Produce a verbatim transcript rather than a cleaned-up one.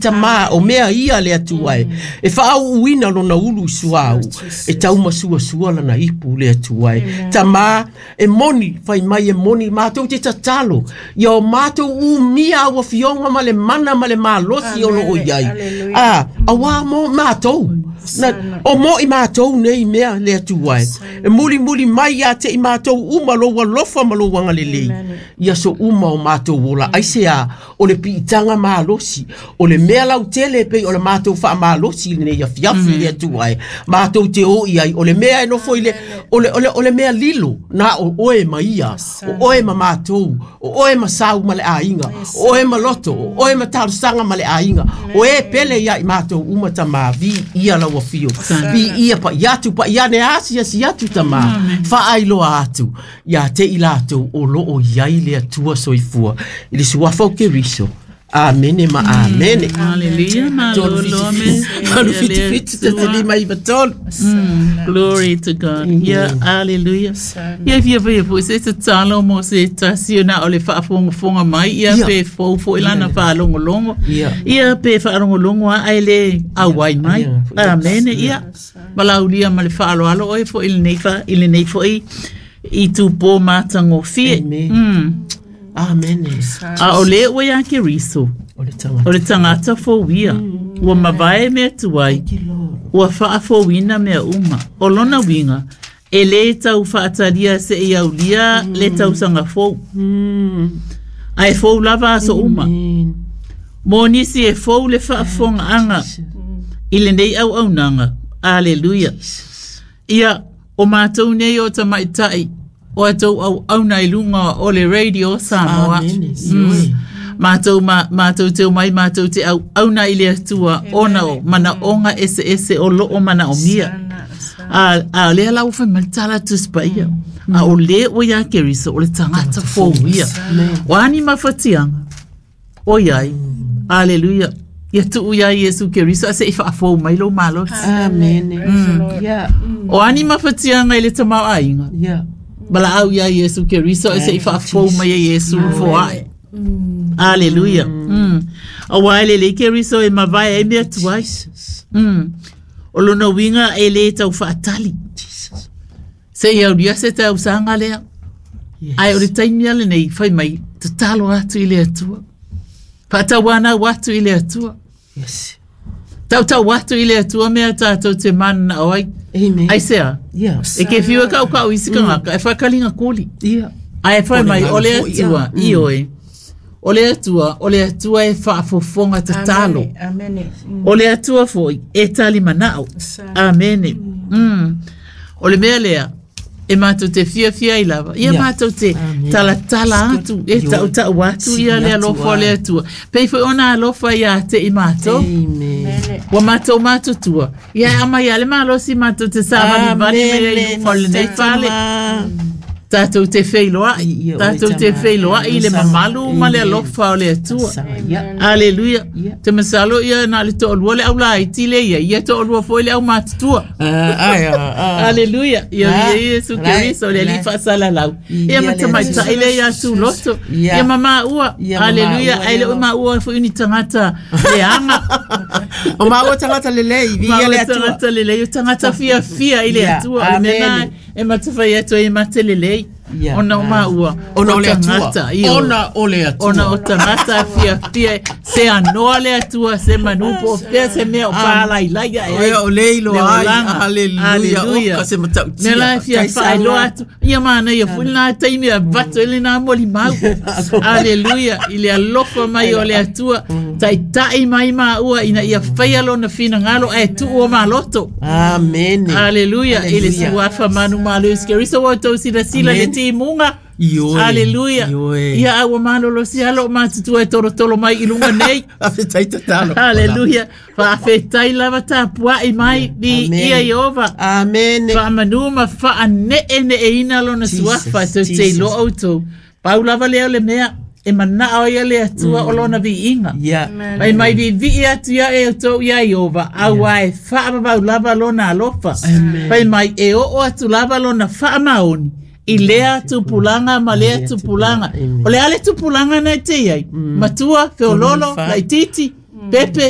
Tamā o mea ia le Atua e e faaauuina lona ulu i suauu e taumasuasua lana ipu le Atua e. Tamā e moni fai mai e moni matou te tatalo ia o matou umia au afioga ma le mana ma le malosi o loo i ai a auā mo matou na o mo i matou nei mea le Atua e e mulimuli mai ia te i matou uma lou alofa ma lou agalelei ia so uma o matou ola aisea o le piitaga malosi o le mea lautele pei o le matou faamalosi i lenei afiafi le Atua e matou te o i ai o le mea e nofo i le o le o le o le mea lilo na o oe ma ia o oe ma matou o oe ma sau ma le aiga o oe ma loto o oe ma talosaga ma le aiga o e pele ia i matou uma tamā viia lau afio viia paia atu paia ane asiasi atu tamā faailoa atu ia te i latou o loo i ai le Atua soifua i le suafa o Keriso. Amene ma amene. Hallelujah. Tolu Malolo fitu me. valu fitu fitu tasi lima iva tolu. Mm, glory to God. Yeah, hallelujah. Ia fia fia foi se tatalo mo se tasi na o le faafogafoga mai ia Ia. pe fou foi lana faalogologo. Ia. Ia pe faalogologo a ai le auai mai. Ia. Amene. Ia. Malaulia ma le faaaloalo oe foi i lenei fa i lenei foi i tupō matagofie. Amen. Mm. Amene. A o le ua ia Keriso O le tagata. o le tagata fou ia ua mavae mea tuai Thank you, Lord. ua faafouina mea uma o lona uiga e lē tau faatalia seʻi aulia le tausaga fou Mm. ae fou lava aso uma Amen. mo nisi e fou le faafofogaaga i lenei auaunaga. Aleluia. Ia o matou nei o tamaʻitaʻi o atou auauna i luga o le Radio Samoa. Amene. Mm. Matou ma matou te omai matou te auauna i le Atua ona o manaoga eseese o loo manaomia. A a lea la ua fai mai le tala Tusi Paia. A o lē ua iā Keriso o le tagata fou ia. O a ni mafatiaga o iai. Aleluia. Ia tuu iā Iesu Keriso a seʻi faafou mai lou malosi. Amene. Yeah. O a ni mafatiaga i le tamaoaiga. Yeah. Valaau iā Iesu Keriso e seʻi faafou mai e Iesu foaʻe. Aleluia. Mm. Auā e lelei Keriso e mavae ai mea tuai. Jesus. Mm. O lona uiga e lē tau faatali. Jesus. Seʻi aulia se tausaga lea. Yes. Ae o le taimi a lenei fai mai tatalo atu i le Atua. Faatauanau atu i le Atua. Yes. Tautau atu i le Atua mea tatou te mananao ai. Amen. Aisea. Yeah. E ke fiu e kaukau isi kagaka e faakaliga koli. Yeah. Ae fai O le mai o le galu foi, Atua ia. i oe. O le Atua, o le Atua e faafofoga tatalo. Amene. O le Atua foi e tali manao. Amene. Mm. O le mea lea e matou te fiafia ai lava. Ia Ia. matou te Amen. talatala atu, e Ioe. tautau atu Sili ia le atu, alofa o ah. le Atua. Pei foi ona alofa ia te i matou. Amen. Ua matou matutua. Ia e aumai a le malosi matou te savalivali mai ai i luga o lenei fale. Tatou te feiloai. Ia, oe Tatou te tama. feiloai i le mamalu ma le alofa o le Atua. Yeah. Aleluia. Ia. Te masalo ia na le toalua le aulaiti le ia. Ia toalua foi le aumatutua. Ah, ai, ah, ah. Aleluia. Ia Ah, ia Iesu lai, Keriso le alii lai. faasalalau. Ia Ia ma le tamaitai le ia tuloto. Ia. Ia ma maua. Ia ma Aleluia. maua Ai le lea. o maua foi ni tagata leaga. O maua tagata lelei, viia le Maua Atua. tagata lelei. O tagata fiafia i le Ia, Atua. O le mea amene. na e matafai atu ai mate lelei. Ia. Ona o maua. Ona o le Atua. tagata, ia. Ona o le Atua. Ona o tagata fiafia se anoa le Atua se manu po o fea se mea o palailai ae ai. Oe, o le iloa ai. Le olaga. Hallelujah. O ka se matautia. Mea la e fia Taisala. faailoa atu. Ia manaia foi lena taimi e avatu ai lena molimau. Aleluia. I le alofa mai o le Atua. Taitaʻi mai maua ina ia faia lona finagalo ae tuu o maloto. Amene. Aleluia. I le Hallelujah. suafa manumalo Iesu Keriso ua outou silasila le Amen. timuga. Ioe. Aleluia. Ioe. Ia a ua malolosi a loo matutua e tolotolo mai i luga nei. Faafetai tatalo. Aleluia. Faafetai lava tapuaʻi mai i Amen. ia Ieova. Amene. Faamanu ma faaneeneeina lona Jesus, suafa e tou te Jesus. iloa outou. Pau lava lea o le mea e manao ai le Atua o lona viiga. Yeah. Mai mai viivii atu ia e outou iā Ieova, auā e faavavau lava lona alofa. Fai mai e oo atu lava lona faamaoni i lea tupulaga ma lea tupulaga. Amen. O le a le tupulaga na e te iai, matua, feololo, Tolu, fa. laititi, Pepe.